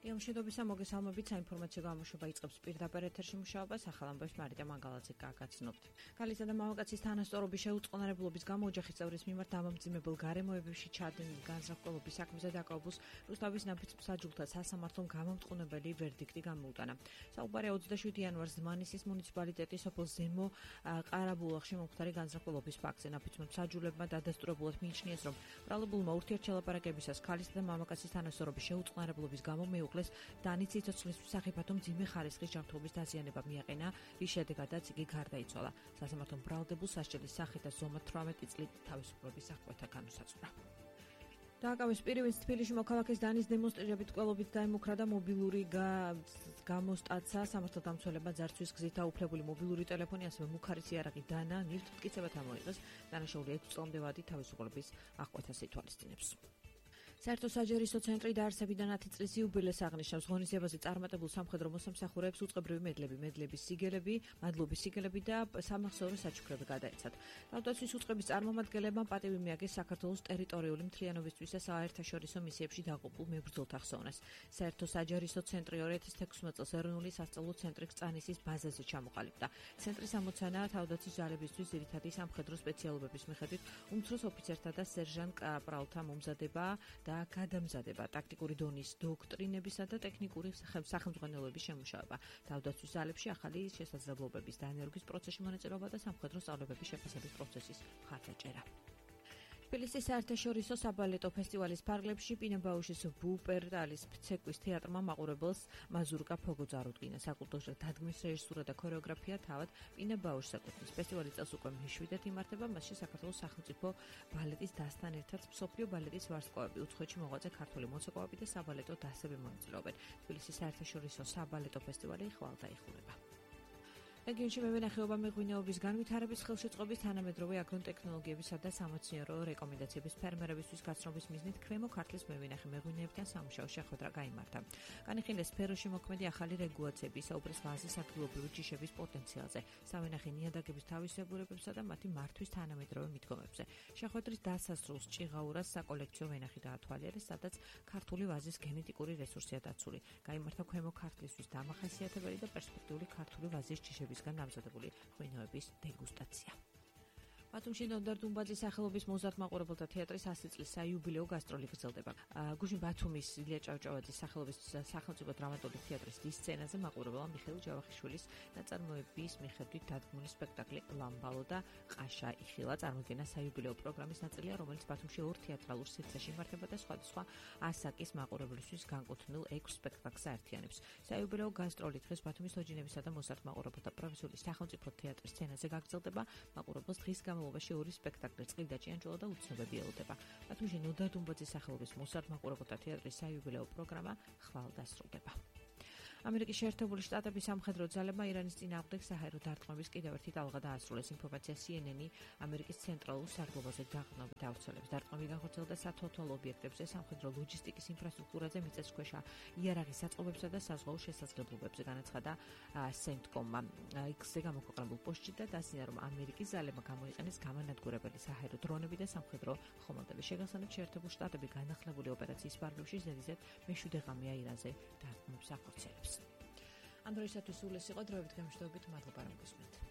გემშვიდობისა მოგესალმებით, საინფორმაციო გამოშვება იწყებს პირდაპირ ეთერში მუშაობას, ახალ ამბებს მარიტა მანგალაძე გაგაცნობთ. ქალისა და მამაკაცის თანასწორობის შეუწყნარებლობის გამო ოჯახის წევრის მიმართ დამამძიმებელ გარემოებებში ჩადენილი განზრახველობის საქმეზე დაკავებულს რუსთავის ნაფიც-მსაჯულთა სასამართლომ გამომტყუნებელი ვერდიქტი გამოუტანა. საუბარია 27 იანვარს ზმანისის მუნიციპალიტეტის სოფელ ზემო ყარაბულახში მომხდარი განზრახველობის ფაქტზე. ნაფიც-მსაჯულებმა დადასტურებულად მიიჩნიეს, რომ ბრალებულმა ურთიერთშელაპარაკებისას ქალისა და მამაკაცის თანასწორობის შეუწყნარებლობის გამო მეუღლეს დანით სიცოცხლისთვის სახიფათო მძიმე ხარისხის ჯანმრთელობის დაზიანება მიაყენა, რის შედეგადაც იგი გარდაიცვალა. სასამართლომ ბრალდებულს სასჯელის სახით და ზომად 18 წლით თავისუფლების აღკვეთა განუსაზღვრა. დააკავეს პირივინც თბილისში მოქალაქეს დანის დემონსტრირებით ყველობით დაემუქრა და მობილური გამოსტაცა. სამართალდამცველებმა ძარცვის გზით დაუფლებული მობილური ტელეფონი, ასევე მუქარის იარაღი დანა ნივთთ მტკიცებად ამოიღეს. დანაშაული 6 წლამდე ვადი თავისუფლების აღკვეთას ითვალისწინებს. საერთო საჯერისო ცენტრი დაარსებიდან 10 წლის იუბილეს აღნიშნავს. ღონისძიებაზე წარმატებულ სამხედრო მოსამსახურეებს უწყებრივი მედლების სიგელები, მადლობის სიგელები და სამახსოვრო საჩუქრები გადაეცათ. თავდაცვის უწყების წარმომადგენლებმა პატივი მიაგეს საქართველოს ტერიტორიული მთლიანობისთვის და საერთაშორისო მისიებში დაღუპულ მებრძოლთა ხსოვნას. საერთო საჯერისო ცენტრი 2016 წელს ეროვნული სასწავლო ცენტრი კრწანისის ბაზაზე ჩამოყალიბდა. ცენტრის ამოცანა თავდაცვის ძალებისთვის ძირითადი სამხედრო სპეციალობების მიხედვით უმცროს ოფიცერთა და სერჟანტ კაპრალთა მომზადება და გადამზადება, ტაქტიკური დონის დოქტრინებისა და ტექნიკური სახელმძღვანელოების შემუშავება, თავდაცვის ძალებში ახალი შესაძლებლობების დანერგვის პროცესში მონაწილეობა და სამხედრო სწავლებების შეფასების პროცესის მხარდაჭერა. თბილისის საერთაშორისო საბალეტო ფესტივალის ფარგლებში პინებაუშის ვუპერტალის ცეკვის თეატრმა მაყურებელს მაზურკა ფოგო წარუდგინა. საკულტურო დადგმის რეჟისურა და ქორეოგრაფია თავად პინებაუშს ეკუთვნის. ფესტივალის წელს უკვე მეშვიდედ იმართება, მასში საქართველოს სახელმწიფო ბალეტის დასთან ერთად მსოფლიო ბალეტის ვარსკვლავები, უცხოეთში მოღვაწე ქართული მოცეკვავები და საბალეტო დასები მონაწილეობენ. თბილისის საერთაშორისო საბალეტო ფესტივალი ხვალ დაიხურება. რეგიონში მევენახეობა მეღვინეობის განვითარების ხელშეწყობის თანამედროვე აგროტექნოლოგიებისა და სამეცნიერო რეკომენდაციების ფერმერებისთვის გაცნობის მიზნით ქვემო ქართლის მევენახე მეღვინეებთან სამუშაო შეხვედრა გაიმართა. განიხილეს სფეროში მოქმედი ახალი რეგულაციები, საუბრეს ვაზის ადგილობრივი ჯიშების პოტენციალზე, სამენახე ნიადაგების თავისებურებებსა და მათი მართვის თანამედროვე მიდგომებზე. შეხვედრის დასასრულს ჭიღაურას საკოლექციო ვენახი დაათვალიერეს, სადაც ქართული ვაზის გენეტიკური რესურსია დაცული. გაიმართა ქვემო ქართლისთვის დამახასიათებელი და პერსპექტიული ქართული ვაზის ჯიშების დამზადებული ღვინოების დეგუსტაცია. ბათუმში ნოდარ დუმბაძის სახელობის მოზარდ მაყურებელთა თეატრის 100 წლის საიუბილეო გასტროლი გრძელდება. გუშინ ბათუმის ილია ჭავჭავაძის სახელობის სახელმწიფო დრამატული თეატრის დის სცენაზე მაყურებელმა მიხეილ ჯავახიშვილის ნაწარმოების მიხედვით დადგმული სპექტაკლი ლამბალო და ყაშა იხილა წარმოდგენა საიუბილეო პროგრამის ნაწილია, რომელიც ბათუმში 2 თეატრალურ სივრცეში იმართება და სხვადასხვა ასაკის მაყურებლისთვის განკუთვნილ 6 სპექტაკლს აერთიანებს. საიუბილეო გასტროლი დღეს ბათუმის თოჯინებისა და მოზარდ მაყურებელთა პროფესიული სახელმწიფო თეატრის სცენაზე გაგრძელდება. მაყურებელს დღის განმავლობაში 2 სპექტაკლი წყლი და ჭიანჭველა და უცნობები ელოდება. ბათუმში ნოდარ დუმბაძის სახელობის მოზარდ მაყურებელთა თეატრის საიუბილეო პროგრამა ხვალ დასრულდება. ამერიკის შეერთებული შტატების სამხედრო ძალებმა ირანის წინააღმდეგ საჰაერო დარტყმების კიდევ ერთი ტალღა დაასრულეს. ინფორმაცია CNN-ი ამერიკის ცენტრალურ საგლობაზე დაყრდნობით ავრცელებს. დარტყმები განხორციელდა სათვალთვალო ობიექტებზე, სამხედრო ლოჯისტიკის ინფრასტრუქტურაზე, მიწისქვეშა იარაღის საწყობებსა და საზღვაო შესაძლებლობებზე, განაცხადა CENTCOM-მა. X-ზე გამოქვეყნებულ პოსტში და დასძინა, რომ ამერიკის ძალებმა გამოიყენეს გამანადგურებელი საჰაერო დრონები და სამხედრო ხომალდები. შეგახსენებთ, შეერთებული შტატები განახლებული ოპერაციის ფარგლებში ზედიზედ მეშვიდე ღამეა ირანზე დარტყმებს ახორციელებს. ამ დროისათვის სულ ეს იყო დროებით გემშვიდობით, მადლობა რომ გისმენთ.